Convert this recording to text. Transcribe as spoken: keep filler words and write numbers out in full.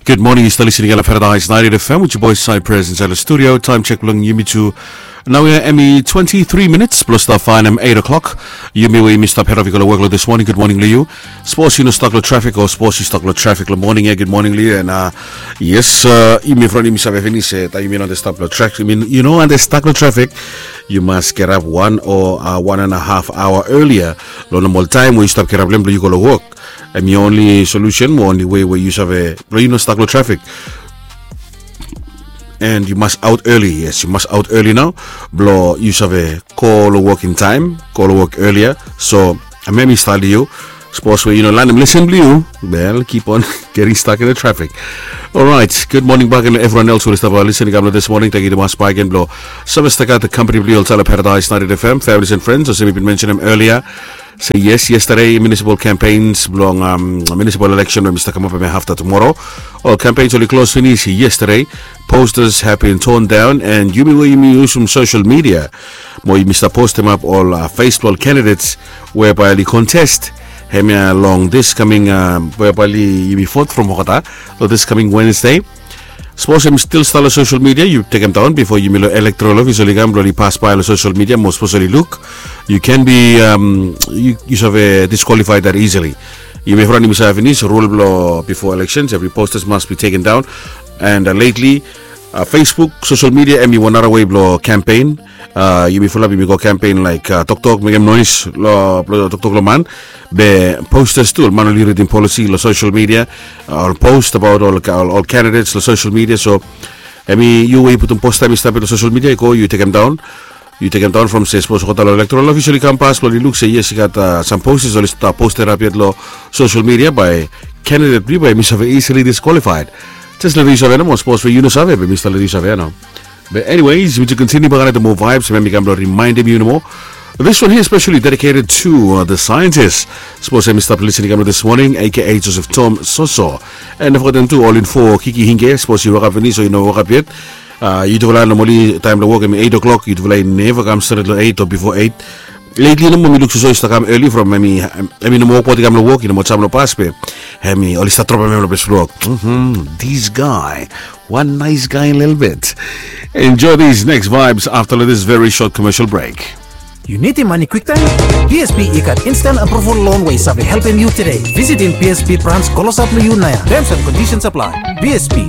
Gud moning, yu stap listening long Paradise ninety-eight F M with your boy Cypress inside the studio. Time check bilong yumi tu. Nau ya hemi twenty-three minutes plus stap faenem eight o'clock. Yumi we yumi stap head of i go long work long this morning. Gud moning long yu. Sapos yu no stak long trafik o sapos yu stak long trafik long moning ya, gud moning long yu. And uh, yes, uh, yumi from yumi save finis eh, taim yumi no stap long trafik. I mean, yu no ante stak long trafik. Yu mas get up one o uh, one and a half hour earlier. Long normal taim we yu stap get up long yu go long work. Em i only solution mo only way we yu save blo yu no stak long trafik. And yu mas out early, yes, yu mas out early nau. Blo yu save go long work in time, go long work earlier. So em em i stali yu. Sapos we yu no lanem lesen blo yu, well, keep on getting stuck in the traffic. Alright, good morning back and everyone else who is stop listening kam long this morning. Thank you tumas back and blo save stakat the company blo yu olsala Paradise ninety-eight F M, families and friends, olsem mi bin mentionem earlier. Say yes, yesterday municipal campaigns bilong um, municipal election we mi stap kamap em hafta tomorrow. Ol campaigns oli klos finis yesterday. Posters have been torn down and yumi we yumi yusum social media mo yumi stap postim ap ol uh, face bilong ol candidates we bai oli contest hemia long this coming uh, we bai oli yumi vote from Hokata long this coming Wednesday. Sapos em stil stap long social media yu tekem daun bifo yumi long electoral office oli kam blo oli pasbai long social media mo sapos oli luk, yu can be um, yu, yu save disqualified that easily. Yumi from yumi save finis rule blo before elections every posters must be taken down. And uh, lately uh, Facebook, social media em i wan nara way blo campaign. Uh, yumi fulap yumi go campaign like uh, toktok mekem noise lo blo toktok lo man. Be posters tu ol man oli ridim policy lo social media, uh, ol post about ol, ol, ol candidates lo social media. So em i yu we yu putum posta em i stap long social media i go yu tekem daun. Yu tekem daun from se sapos olgeta lo electoral office oli kam pas blo oli luk se yes i gat uh, some posters oli stap posted up yet lo social media by candidate bli bai mi save easily disqualified. Just let yu save nomo sapos we yu no save be mi stap let yu save ya nau. But anyways, we to continue back to more vibes. Remember, I'm reminding you more. This one here is specially dedicated to uh, the scientists. Suppose I'm stop listening to this morning, A K A Joseph Tom Soso. And I've got them too, all in for Kiki Hinge. Suppose you woke up in this or you know woke up yet. Uh, yutufala nomali taim long wok em eight o'clock, yutufala i neva kam stret long eight o bifo eight. Lately nomo mi luk soso i stap kam early from em i em i nomo wokbaut i kam long wok i nomo jam long pas be em i oli stap dropim em long bes blok. This guy, one nice guy a little bit. Enjoy these next vibes after this very short commercial break. Yu nidim mani kwiktaim? B S P i gat instant approval loan we i save helpim yu today. Visitim B S P branch klosap long yu naia. Terms and conditions apply. B S P,